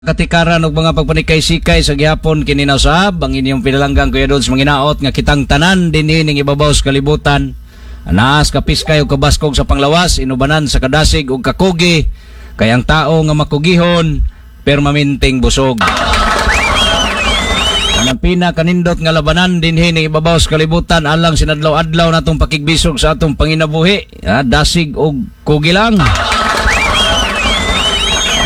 Katikaran og mga pagpanikay-sikay sa gihapon kini na usab ang inyong pinalanggang Kuya Dodds manginaot nga kitang tanan dinhi ning ibabaw sa kalibutan. Anaas kapiskay og kabaskog sa panglawas, inubanan sa kadasig og kakugi, kay ang tao nga makugihon permanenteng busog. Ang pinakanindot nga labanan dinhi ning ibabaw sa kalibutan alang sinadlaw-adlaw natong pakigbisog sa atong panginabuhi, dasig og kugi lang.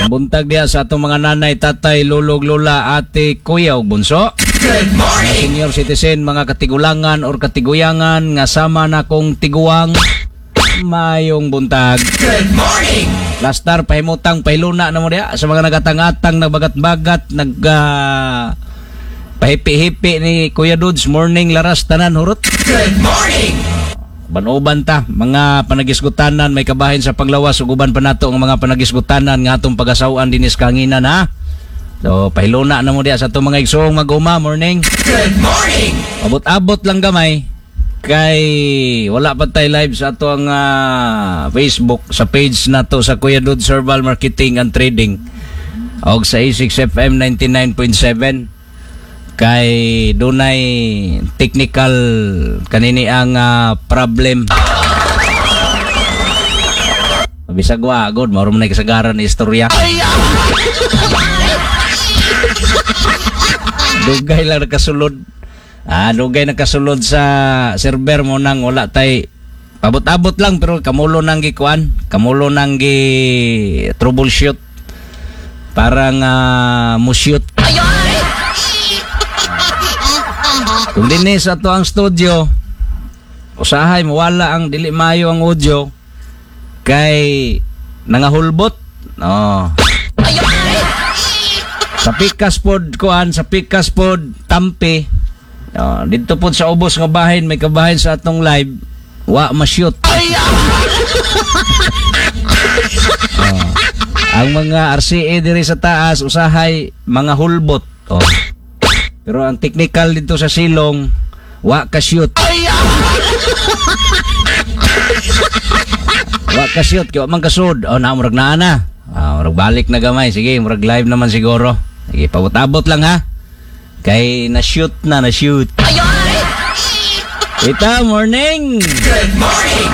Ang buntag diha sa atong mga nanay, tatay, lulog, lola, ate, kuya ug bunso. Good morning. Mga senior citizen, mga katigulangan or katiguyangan nga sama na kong tiguang, mayong buntag. Good morning. Lastar pahimutang pahiluna na mo diha sa mga nagatang-atang, nagbagat-bagat, nag pahipi-hipi ni Kuya Dudes, morning laras tanan hurot. Good morning. Uban-uban ta, mga panagisgutanan may kabahin sa panglawas ug uban pa nato ang mga panagisgutanan nga atong pagasaw-an dinis kanginan ha. So pahiluna na mo diha sa atong mga igsoong mag-uma, morning. Good morning. Abot-abot lang gamay kay wala pa tay live sa ato ang Facebook sa page nato sa Kuya Dudes Herbal Marketing and Trading og sa A6 FM 99.7 kay dunay technical kanini ang problem. Bisag wa god mao man nay kasagaran ni istorya. Dugay lang nakasulod. Dugay nakasulod sa server mo nang wala tay abot-abot lang pero kamulo nang gikuan, kamulo nang gi troubleshoot. Parang mushoot. Kung dinhi sa ato ang studio, usahay mawala ang dili maayo ang audio kay nangahulbot. No. Sa pikas pod kuan, sa pikas pod tampi. No, dito pod sa ubos nga bahin may kabahin sa atong live, wa ma-shoot. Oh. Ang mga RCA diri sa taas usahay mga hulbot. Oh. Pero ang technical dito sa silong, wa ka shoot. Wa ka shoot kay wa man kasud. Oh, na murag naa na. Murag balik na gamay. Sige, murag live naman siguro. Sige, pabot-abot lang ha. Kay na-shoot na, na-shoot. Ita, morning. Good morning.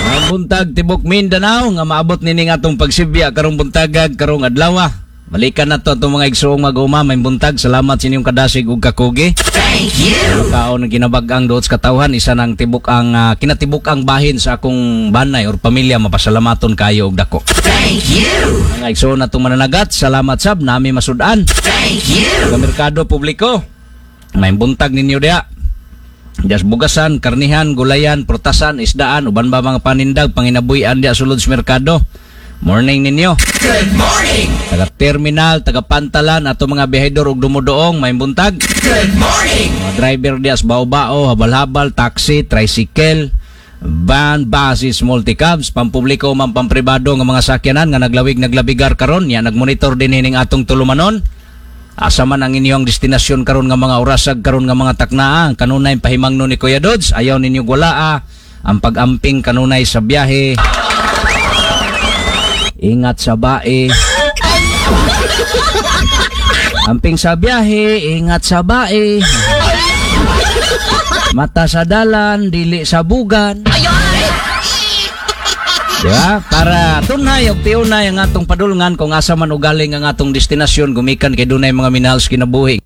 Mga buntag tibok Mindanao nga maabot nining atong pagsibya karong buntagag karong adlaw. Balikan na to atong mga igsoong mag-uma, may buntag. Salamat sa inyong kadasig ug kakugi. Thank you. Kaon ng kinabag-ang duot sa katawhan, isa nang tibok ang kinatibok ang bahin sa akong banay or pamilya, mapasalamaton kayo og dako. Thank you. Mga igsoon natong mananagat, salamat sab nami masud-an. Thank you. Sa merkado publiko, may buntag ninyo diha. Diya sa bugasan, karnihan, gulayan, prutasan, isdaan, uban ba mga panindag, panginabuy-an diya sulod sa merkado. Morning ninyo. Good morning. Taga terminal, taga pantalan, ato mga biyahedor ug dumudoong, may buntag. Good morning. Mga driver diya sa bao-bao, habal-habal, taxi, tricycle, van, buses, multicabs, pampubliko man pampribado nga mga sakyanan nga naglawig naglabigar karon, ya nagmonitor din hining atong tulumanon. Asa man ang inyong destinasyon karon nga mga orasag karon nga mga taknaa, kanunay pahimangno ni Kuya Dodds, ayaw ninyo gwalaa ang pag-amping kanunay sa biyahe. Ingat sa bae. Amping sa biyahe, ingat sa bae. Mata sa dalan, dili sa bugan. Diba? Para tunay og tiunay ang atong padulngan kung asa man ugaling ang atong destinasyon gumikan kay dunay mga minahal sa kinabuhi.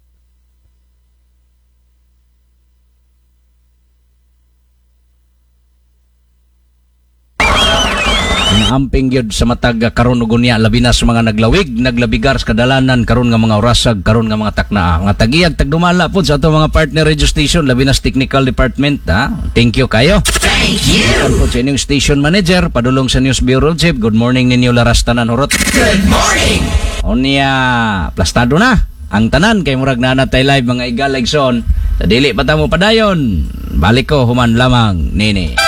Amping gyud sa matag karon ug unya labi na sa mga naglawig, naglabigar sa kadalanan karon nga mga orasag, karon nga mga taknaa. Mga tagiyag tagdumala pod sa atong mga partner radio station labi na sa technical department ha. Thank you kayo. Thank you. Welcome po sa inyong station manager, padulong sa News Bureau Chief. Good morning ninyo laras tanan hurot. Good morning. Unya, plastado na ang tanan kay murag na natay live mga igaligson. Sa dili pa ta mo padayon. Balik ko human lamang nini.